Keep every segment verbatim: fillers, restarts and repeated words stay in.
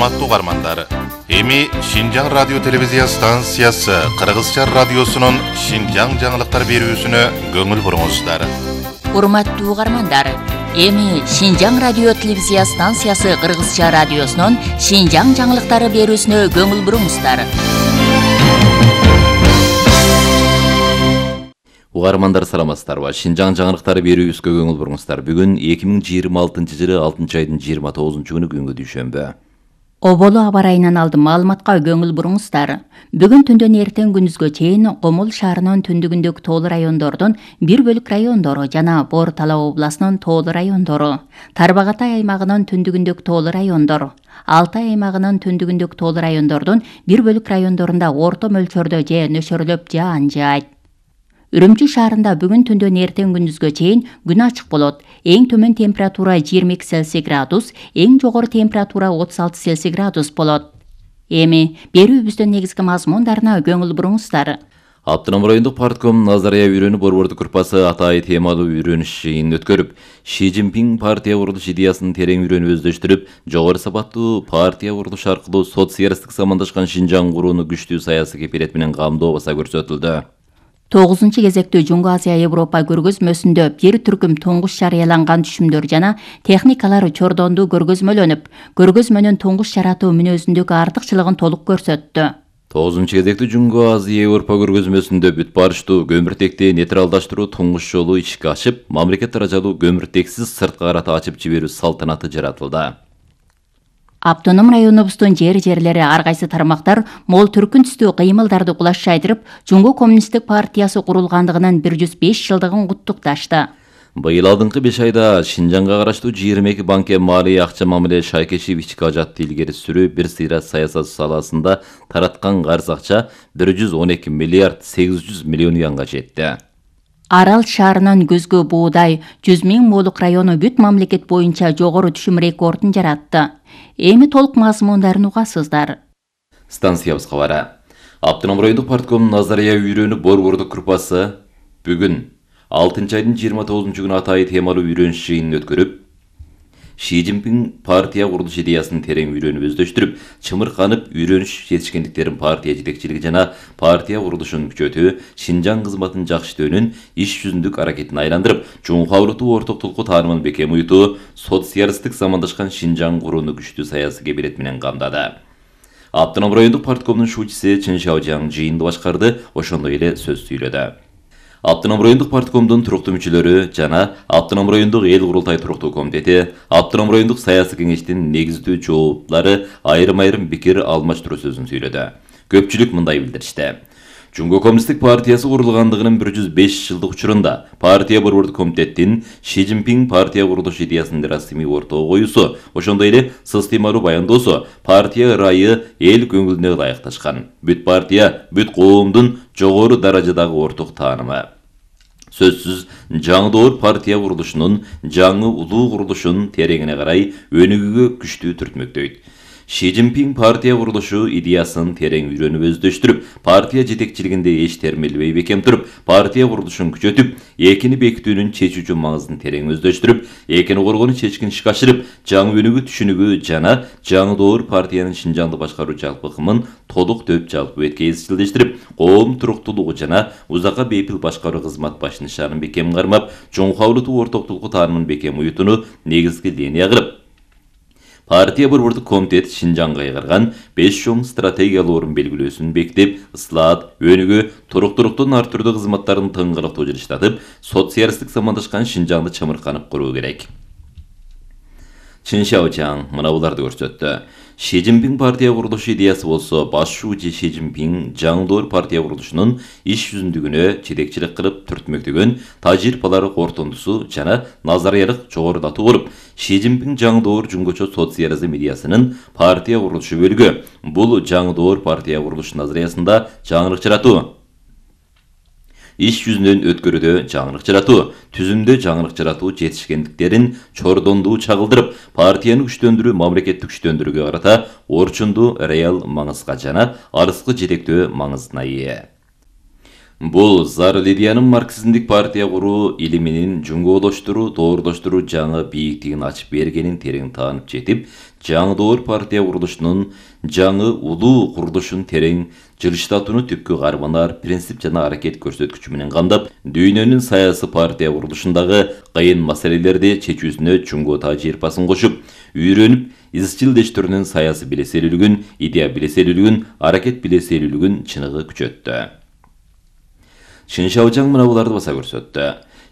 Урматтуу угармандар, эми Шинжаң радио телевизия станциясы Кыргызча радиосунун Шинжаң жаңылыктар берүүсүнө көңүл буруңуздар. Урматтуу угармандар, эми Шинжаң радио телевизия станциясы Кыргызча радиосунун Шинжаң жаңылыктары берүүсүнө көңүл буруңуздар. Угармандар саламатсыздарбы? Шинжаң жаңылыктары берүүбүзгө көңүл буруңуздар. Бүгүн эки миң жыйырма алтынчы жылы алтынчы айдын жыйырма тогузунчу күнү күнгө дүйшөмбү. Оболу аба ырайынан алдым маалыматка көңүл буруңуздар. Бүгүн түндөн эртең күндүзгө чейин Комул шаарынын түндүгүндөгү тоолуу райондордун бир бөлүк райондору жана Бор Тала областынын тоолуу райондору, Тарбагатай аймагынын түндүгүндөгү тоолуу райондор, Алтай аймагынын түндүгүндөгү тоолуу райондордун бир бөлүк райондорунда орто мөлчөрдө же нөшөрлөп жаан жаайт. Үрүмчү шаарында бүгүн түндөн эртең күндүзгө чейин күн ачык болот. Эң төмөн температура жыйырма эки Цельсий градус, эң жогору температура отуз алты Цельсий градус болот. Эми берүүбүздүн негизги мазмундарына көңүл буруңуздар. Автоном райондук партком Назария үйрөнү борбордук группасы Атай темалуу үйрөнүш жыйынын өткөрүп, Ши Цзиньпин партия курулуш идеясын терең үйрөнүп өздөштүрүп, жогору сапаттуу партия курулуш аркылуу социалисттик замандашкан Шинжаң курууну күчтүү саясий кепилет менен камдоо баса көрсөтүлдү. тогузунчу кезектүү Жуңгу Азия Европа көргөзмөсүндө бир түркүм туңгуш жарыяланган түшүмдөр жана техникалар чордондуу көргөзмөлөнүп, көргөзмөнүн туңгуш жаратуу мүнөзүндөгү артыкчылыгын толук көрсөттү. тогузунчу кезектүү Жуңгу Азия Европа көргөзмөсүндө бүт барыштуу көмүртекти нейтралдаштыруу туңгуш жолу ишке ашып, мамлекет даражалуу көмүртексиз сырткы карата ачып жиберүү салтанаты жаратылды. Автоном районубуздун жер-жерлери ар кайсы тармактар мол түркүн түстүү кыймылдарды кулаш жайдырып, Жуңгу коммунисттик партиясы курулгандыгынын бир жүз беш жылдыгын куттукташты. Быйыл алдыңкы беш айда Шинжаңга караштуу жыйырма эки банкке малый акча мамиле шайкеши ички ажатты илгери сүрүү бир сыйра саясат саласында тараткан карыз акча бир жүз он эки миллиард сегиз жүз миллион юанга жетти. Арал шаарынын көзгө буудай жүз миң молук району бүт мамлекет боюнча жогору түшүм рекордун жаратты. Эми толук мазмундарын угасыздар. Станциябыз кабары. Автоном райондук партком Назария үйрөнү борбордук группасы бүгүн алтынчы айдын жыйырма тогузунчу күнү Атай темалуу үйрөнүш жыйынын өткөрүп, Ши Цзиньпин партия курулуш идеясын терең үйрөнүп өздөштүрүп, чымырканып үйрөнүш жетишкендиктерин партия жетекчилиги жана партия курулушун күчөтүү, Шинжаң кызматын жакшытөөнүн иш жүзүндүк аракетин айландырып, чоңкаулуу ортоктулукту таанымын бекем уютуу, социалисттик замандашкан Шинжаң курууну күчтүү саясий кепилет менен камдады. Автоном райондук парткомдун шуучусу Чын Шаожаң жыйынды башкарды, ошондой эле сөз сүйлөдү. Автоном райондук парткомдун туруктуу мүчөлөрү жана Автоном райондук эл курултай туруктуу комитети, Автоном райондук саясий кеңештин негиздүү жооптары айрым-айрым пикир алмаштыруу сөзүн сүйлөдү. Көпчүлүк мындай билдиришти. Жуңгу коммунисттик партиясы курулгандыгынын бир жүз беш жылдык учурунда партия борбордук комитеттин Ши Цзиньпин партия курулуш идеясынын расмий ортого коюусу, ошондой эле сыстыймалуу баяндоосу партия ырайы эл көңүлүнө ылайыкташкан. Бүт партия, бүт коомдун жогору даражадагы орток таанымы. Сөзсүз жаңы партия курулушунун, жаңы улуу курулушун тереңине карай өнүгүүгө күчтүү түртмөктөйт. Ши Цзиньпин партия курулушу идеясын терең үйрөнүп өздөштүрүп, партия жетекчилигинде эч термелбей бекем туруп, партия курулушун күчөтүп, экини бекитүүнүн чечүүчү маңызын терең өздөштүрүп, экини коргонуу чечкин ишке ашырып, жаңы өнүгүү түшүнүгү жана жаңы доор партиянын Шинжаңды башкаруу жалпы ыкымын толук төп жалпы бетке изчилдештирип, коом туруктуулугу жана узакка бейпил башкаруу кызмат баш нишанын бекем кармап, чоңкаулуу ортоктулукту таанымын бекем уютууну негизги линия кылып, партия борбордук комитет Шинжаңга кайгарган беш чоң стратегиялуу орун белгилөөсүн бекитип, ыслаат, өнүгүү, туруктуулуктун ар түрдүү кызматтарын тыңгылыктуу жылыштатып, социалисттик замандашкан Шинжаңды чымырканып куруу керек. Чын Шаожаң мына буларды көрсөттү. Ши Цзиньпин партия курулуш идеясы болсо, баш шуучу Ши Цзиньпин жаңы партия курулушунун иш жүзүндүгүнө жетекчилик кылып түртмөктөгөн тажрыйбалары кортундусу жана назариялык жогорулатуу болуп, Ши Цзиньпин жаңы доор жуңгучу социализм идеясынын партия курулушу бөлүгү. Бул жаңы доор партия курулуш назариясында жаңылык жаратуу, иш жүзүнөн өткөрүүдө жаңылык жаратуу, түзүмдө жаңылык жаратуу жетишкендиктерин чордондуу чагылдырып, партияны күчтөндүрүү, мамлекетти күчтөндүрүүгө карата орчундуу реал маңызга жана арыскы жетектөө маңызына ээ. Бул Зар Лидиянын марксизмдик партия куруу илиминин жуңголоштуруу, доордоштуруу жаңы бийиктигин ачып бергенин терең таанып жетип, жаңы доор партия курулушунун жаңы улуу курулушун терең жылыштатууну түпкү карманар принцип жана аракет көрсөткүчү менен камдап, дүйнөнүн саясий партия курулушундагы кыйын маселелерди чечүүсүнө чуңгу тажрыйбасын кошуп, үйрөнүп, изчилдештирүүнүн саясий билеселүүлүгүн, идея билеселүүлүгүн, аракет билеселүүлүгүн чыныгы күчөттү. Чин Шаожаң мына буларды баса көрсөттү.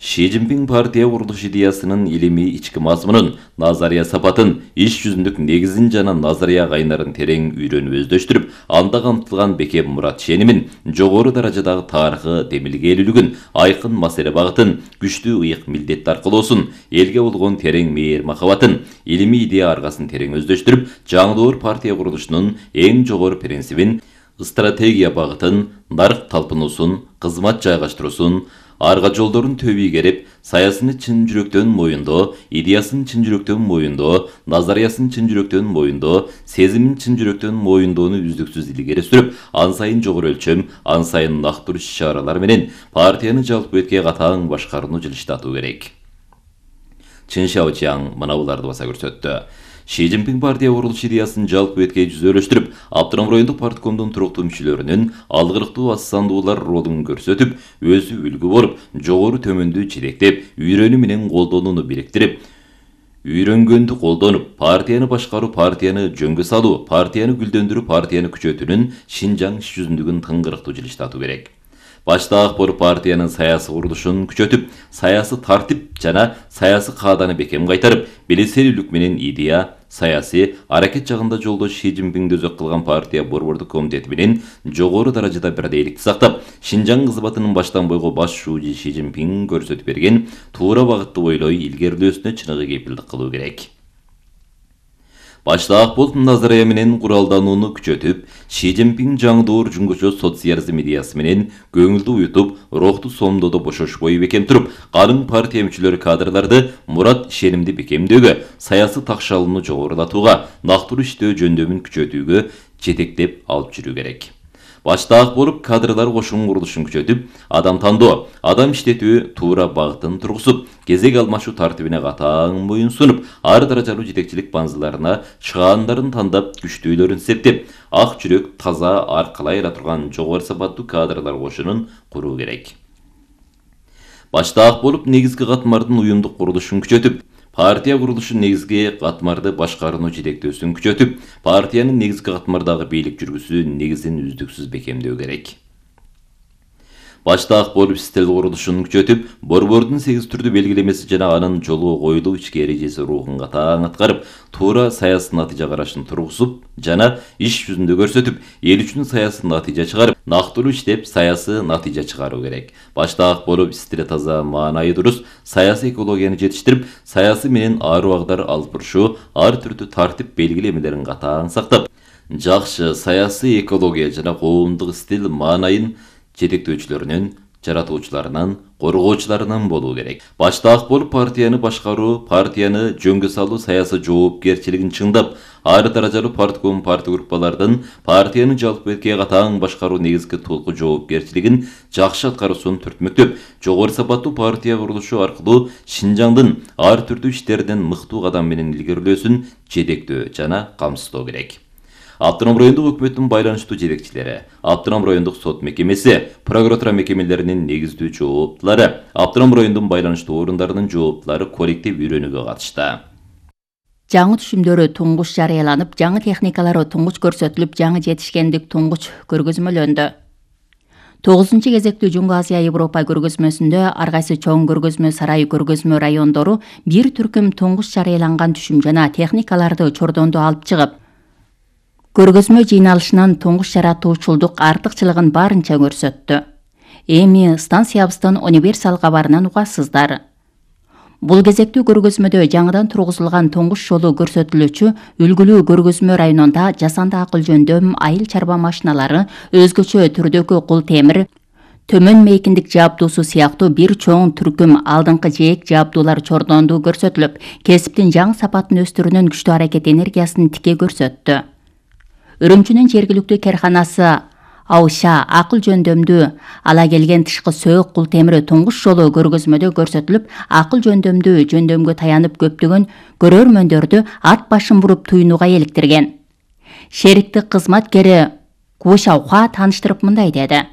Ши Цзиньпин партия курулуш идеясынын илимий ички мазмунун, назария сапатын, иш жүзүндүк негизин жана назария кайнарын терең үйрөнүп өздөштүрүп, анда камтылган бекем мурат ишенимин, жогору даражадагы тарыхы демилгелүүлүгүн, айкын маселе багытын, күчтүү ыйык милдет аркылоосун, элге болгон терең мейир махабатын, илимий идея аргасын терең өздөштүрүп, жаңы доор партия курулушунун эң жогору принцибин, стратегия багытын, нарык талпынуусун, кызмат жайгаштыруусун, арга жолдорун төбүй керип, саясыны чын жүрөктөн моюндоо, идеясын чын жүрөктөн моюндоо, назариясын чын жүрөктөн моюндоо, сезимин чын жүрөктөн моюндоону үздүксүз илгери сүрүп, ан сайын жогору өлчөм, ан сайын нактуу иш-чаралар менен партияны жалпы бетке катаң башкарууну жылыштатуу керек. Чин Шаожаң мына буларды баса көрсөттү. Ши Цзиньпин партия курулуш идеясын жалпы бетке жүзөлөштүрүп, Автоном райондук парткомдун туруктуу мүчөлөрүнүн алгылыктуу ассандуулар ролун көрсөтүп, өзү үлгү болуп, жогору төмөндү жетектеп, үйрөнүү менен колдонууну бириктирип, үйрөнгөндү колдонуп, партияны башкаруу, партияны жөнгө салуу, партияны гүлдөндүрүү, партияны күчөтүүнүн Шинжаң иш жүзүндүгүн тыңгырыктуу жылыштатуу керек. Башта ак болуп партиянын саясий курулушун күчөтүп, саясий тартип жана саясий кааданы бекем кайтарып, билеселүүлүк менен идея, саясий аракет жагында жолдош Ши Цзиньпинди өзөк кылган партия борбордук комитети менен жогору даражада бирдейликти сактап, Шинжаң кызматынын баштан бойго баш шүүжү Ши Цзиньпин көрсөтүп берген туура багытты ойлой илгерилөөсүнө чыныгы кепилдик кылуу керек. Башта ак болуп назария менен куралданууну күчөтүп, Ши Цзиньпин жаңы доор жуңгучу социализм идеясы менен көңүлдү уютуп, рухту сомдоодо бошошпой бекем туруп, калың партия мүчөлөрү кадрларды мурат ишенимди бекемдөөгө, саясий такшалууну жогорулатууга, нактуу иштөө жөндөмүн күчөтүүгө жетектеп алып жүрүү керек. Башта ак болуп кадрлар кошуун курулушун күчөтүп, адам тандоо, адам иштетүү туура багытын тургузуп, кезек алмашуу тартибине катаң моюн сунуп, ар даражалуу жетекчилик баңзыларына чыгаандарын тандап, күчтүүлөрүн септеп, ак жүрөк, таза, аркалай ала турган жогору сапаттуу кадрлар кошунун куруу керек. Башта ак болуп негизги катмардын уюмдук курулушун күчөтүп, партия курулушу негизги катмарды башкарууну жетектөөсүн күчөтүп, партиянын негизги катмардагы бийлик жүргүзүү негизин үздүксүз бекемдөө керек. Башта ак болуп стил курулушун күчөтүп, борбордун сегиз түрдүү белгилемеси жана анын жолго коюлуу ички эрежеси рухун катаң аткарып, туура саясий натыйжа карашын тургузуп жана иш жүзүндө көрсөтүп, эл үчүн саясий натыйжа чыгарып, нактуу иштеп, саясий натыйжа чыгаруу керек. Башта ак болуп стили таза, маанайы дурус, саясий экологияны жетиштирип, саясий менен ар убагдар алып барышуу, ар түрдүү тартип белгилемелерин катаң сактап, жакшы саясий экология жана коомдук стил маанайын жетектөөчүлөрүнүн, жаратуучуларынан, коргоочуларынан болуу керек. Башта ак болуп партияны башкаруу, партияны жөнгө салуу саясий жоопкерчилигин чыңдап, ар даражалуу партком партия группалардын партияны жалпы бетке катаң башкаруу негизги толку жоопкерчилигин жакшы аткаруусун түртмөктөп, жогору сапаттуу партия курулушу аркылуу Шинжаңдын ар түрдүү иштеринен мыктуу кадам менен илгерилөөсүн жетектөө жана камсыздоо керек. Автоном райондук өкмөттүн байланыштуу жетекчилери, Автоном райондук сот мекемеси, прокуратура мекемелеринин негиздүү жооптулары, Автоном райондун байланыштуу орундарынын жооптулары коллектив үйрөнүүгө катышты. Жаңы түшүмдөрү туңгуч жарыяланып, жаңы техникалары туңгуч көрсөтүлүп, жаңы жетишкендик туңгуч көргөзмөлөндү. тогузунчу кезектүү Жуңгу Азия Европа көргөзмөсүндө ар кайсы чоң көргөзмө сарайы көргөзмө райондору бир түркүм туңгуч жарыяланган түшүм жана техникаларды чордондо алып чыгып, көргөзмө жыйналышынан туңгуч жаратуучулдук артыкчылыгын барынча көрсөттү. Эми станциябыздын универсал кабарынан угасыздар. Бул кезектүү көргөзмөдө жаңыдан тургузулган туңгуч жолу көрсөтүлүүчү үлгүлүү көргөзмө районунда жасанды акыл жөндөм, айыл чарба машиналары, өзгөчө түрдөгү кул темир, төмөн мейкиндик жабдуусу сыяктуу бир чоң түркүм алдыңкы жээк жабдуулар чордондуу көрсөтүлүп, кесиптин жаңы сапатын өстүрүүнүн күчтүү аракет энергиясын тике көрсөттү. Үрүмчүнүн жергиликтүү керканасы Ауша акыл жөндөмдүү ала келген тышкы сөөк кул темири туңгуч жолу көргөзмөдө көрсөтүлүп, акыл жөндөмдүү жөндөмгө таянып көптөгөн көрөрмөндөрдү ат башын буруп туйнууга эликтирген. Шериктик кызматкери Кушауха тааныштырып мындай деди.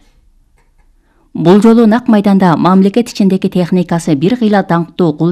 Бул жолу нак майданда мамлекет ичиндеги техникасы бир кыйла даңктуу кул